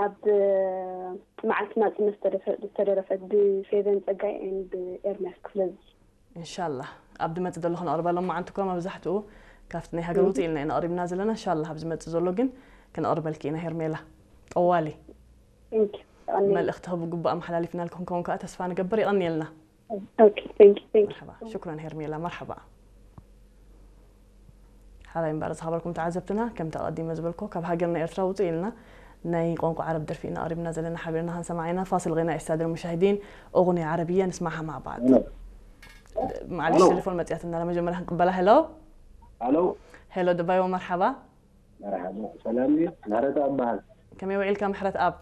ኣብ መዓልቲ ናጽነት ዝተደፈ- ዝተደረፈት ብፌቨን ጸጋይ and ብኤርሚያስ ክፍለዝጊ። እንሻላ ኣብ ድመጽእ ዘሎ ክነቕርበሎም መዓንትኮ መብዛሕትኡ ካብቲ ናይ ሃገር ውፅእ ኢልና ኢና ኣቕሪብና ዘለና። እንሻላ ኣብ ዝመጽእ ዘሎ ግን ክነቕርበልኪ ኢና። ሄርሜላ ጠዋሊ Thank you። ኣነ- መልእኽቲ ክብ ግቡእ ኣመሓላሊፍናልኪ ክንከውን ከዓ ተስፋ ንገብር። ይቐንየልና። Okay, thank you, thank you። መርሓባ ሽኩረን ሄርሜላ። መርሓባ ሓራይ እምበኣር ዝኸበርኩም ተዓዘብትና፣ ከምቲ ኣቐዲመ ዝበልኮ ካብ ሃገርና ኤርትራ ውፅእ ኢልና ናይ ቋንቋ ዓረብ ደርፊ ኢና ኣቕሪብና ዘለና። ሓቢርና ክንሰማዕ ኢና። ፋሲል غناء السادة المشاهدين، أغنية عربية نسمعها مع بعض. معلش ألو. ቴሌፎን መፅያትና፣ መጀመርያ ክንቅበላ። ሄሎ ኣሎ ሄሎ፣ ደባይዎ መርሓባ። መርሓባ ሰላም እዩ። ምህረት ኣበሃል ከመይ ውዒልካ ምሕረት ኣብ?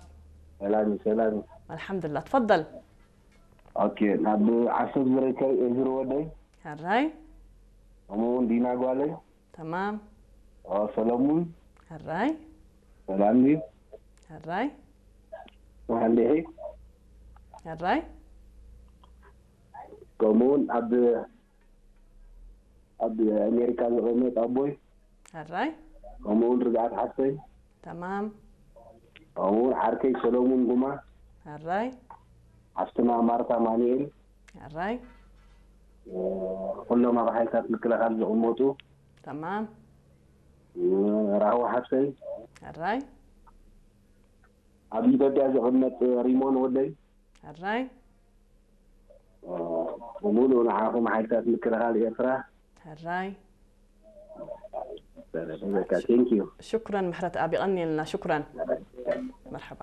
ሰላም እዩ ሰላም እዩ። ኣልሓምዱላ፣ ትፈደል። ኦኬ ናብ ዓሰብ ዝርከብ ኤዝር ወደይ ሕራይ ከምኡ እውን ዲና ጓለይ ተማም። ኦ ሰለሙን ሕራይ ሰላም እዩ። ሕራይ መሓንዲሒ ሕራይ ከምኡ እውን ኣብ ኣብ ኣሜሪካ ዝቕመጥ ኣቦይ ሕራይ ከምኡ እውን ርግኣት ሓፍተይ ተማም። ከምኡ እውን ዓርከይ ሰለሙን ጉማ ሕራይ ሓፍትና ማርታ ማኑኤል ሕራይ ኩሎም ኣብ ሓይልታት ምክልኻል ዝቕመጡ ተማም። ራህዋ ሓፍተይ ሕራይ ኣብ ኢትዮጵያ ዝቕመጥ ሪሞን ወደይ ሕራይ ብምሉእ ንዓኹም ሓይልታት ምክልኻል ኤርትራ ሕራይ በቃ ቴንክ ዩ ሽኩረን ምሕረት ኣብ ይቐንየልና። ሽኩረን መርሓባ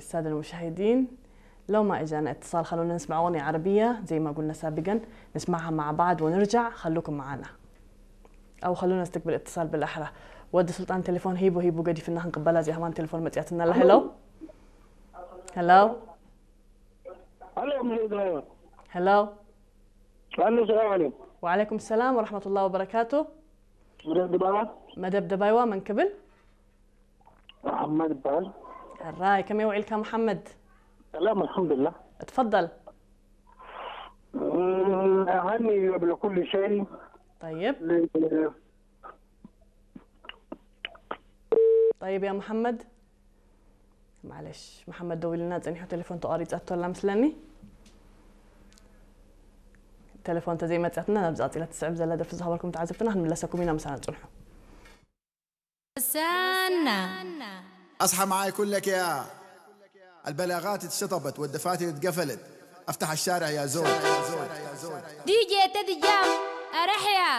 السادة المشاهدين، لو ما إجانا اتصال خلونا نسمع أغنية عربية زي ما قلنا سابقا، نسمعها مع بعض ونرجع، خلوكم معنا. أو خلونا نستقبل اتصال بالأحرى. ወዲ ሱልጣን ቴሌፎን ሂቡ ሂቡ ገዲፍና ክንቅበላ እዚኣ ከማን ቴሌፎን መፅያትና ኣላ። ሄሎ ሄሎ ኣሎ ምሬት ድባባ ሄሎ ኣሎ ሰላም ዓለይኩም وعليكم السلام ورحمة الله وبركاته. ምሬት ድባባ መደብ ደባይዋ መን ክብል? መሓመድ ይበሃል ሕራይ ከመይ ውዒልካ መሓመድ? ሰላም ኣልሓምዱላ اتفضل። ሃኒ قبل كل شيء طيب طيب يا محمد. معلش محمد ደዊልና ጸኒሑ ቴሌፎን ተቋሪጻቶ ኣላ መስለኒ። ቴሌፎን ተዘይመጽኣትና ናብዚ ቀጺላ ትስዕብ ዘላ ደርፊ ዝኸበርኩም ተዓዘብትና ክንምለሰኩም ኢና። ምሳና ጽንሑ። سنة أصحى معاي كلك يا البلاغات اتشطبت والدفاتر اتقفلت. افتح الشارع يا زول. دي جي تدي جام أرحيا